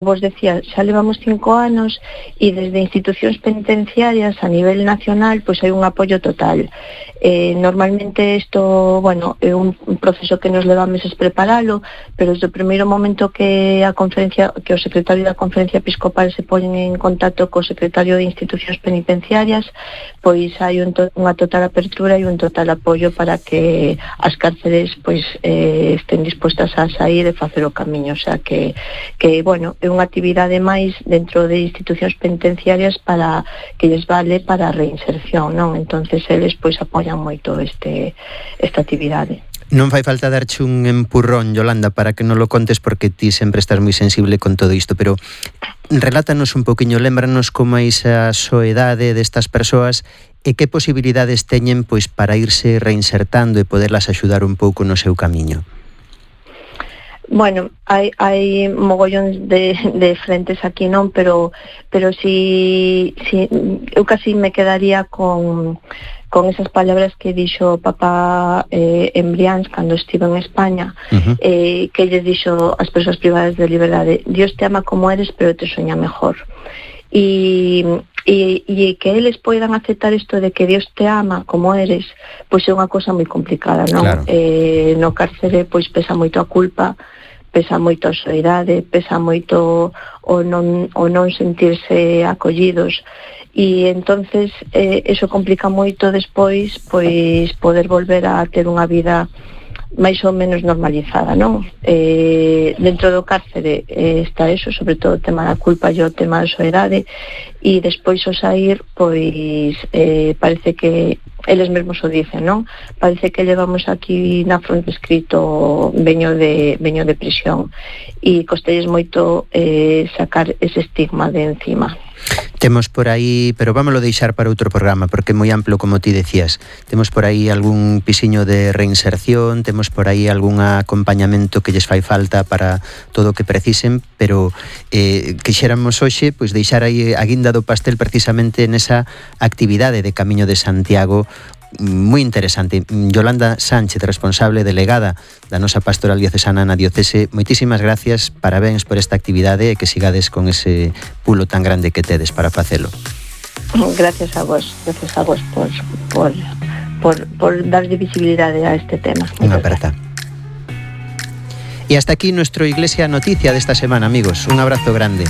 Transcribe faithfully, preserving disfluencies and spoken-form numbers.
vos decía, xa levamos cinco anos e desde institucións penitenciarias a nivel nacional pois hai un apoio total. Eh, normalmente isto, bueno, é un proceso que nos leva meses preparalo, pero desde o primeiro momento que a conferencia, que o secretario da Conferencia Episcopal se poñen en contacto co secretario de institucións penitenciarias, pois hai un to- unha total apertura e un total apoio para que as cárceres pois eh, estén dispostas a sair e facer o camiño, o sea que, que bueno, é unha actividade máis dentro de institucións penitenciarias para que lles vale para a reinserción, non? Entonces eles pois apoian moito este esta actividade. Non fai falta darche un empurrón, Yolanda, para que non lo contes porque ti sempre estás moi sensible con todo isto, pero relátanos un poquinho, lémbranos como é esa soedade destas persoas e que posibilidades teñen pois para irse reinsertando e poderlas axudar un pouco no seu camiño. Bueno, hai, hai mogollóns de, de frentes aquí, non? Pero, pero si, si eu casi me quedaría con, con esas palabras que dixo o Papa eh, en Brians cando estive en España, uh-huh. eh, que lles dixo as persoas privadas de liberdade: Dios te ama como eres, pero te soña mejor. E, e, e que eles poidan aceptar isto de que Dios te ama como eres, pois é unha cosa moi complicada, non? Claro. Eh, no cárcere pois pesa moito a culpa, pesa moito a soidade, pesa moito o non, o non sentirse acollidos, e entonces eh, eso complica moito despois pois poder volver a ter unha vida máis ou menos normalizada, non? Eh, dentro do cárcere eh, está eso, sobre todo o tema da culpa e o tema da soidade, e despois o sair, pois eh, parece que eles mesmos o dicen, non? Parece que levamos aquí na fronte escrito veño de, veño de prisión, e costelles moito eh, sacar ese estigma de encima. Temos por aí, pero vámoslo deixar para outro programa porque é moi amplo, como ti decías. Temos por aí algún pisiño de reinserción, temos por aí algún acompañamento que lles fai falta para todo o que precisen, pero eh, quixéramos hoxe pois deixar aí a guinda do pastel precisamente nesa actividade de Camiño de Santiago moi interesante. Yolanda Sánchez, responsable delegada da nosa pastoral diocesana na diocese, moitísimas gracias, parabéns por esta actividade e que sigades con ese pulo tan grande que tedes para facelo. Gracias a vos, gracias a vos por, por, por, por darle visibilidade a este tema. Unha aperta. E hasta aquí nuestro Iglesia Noticia desta semana, amigos. Un abrazo grande.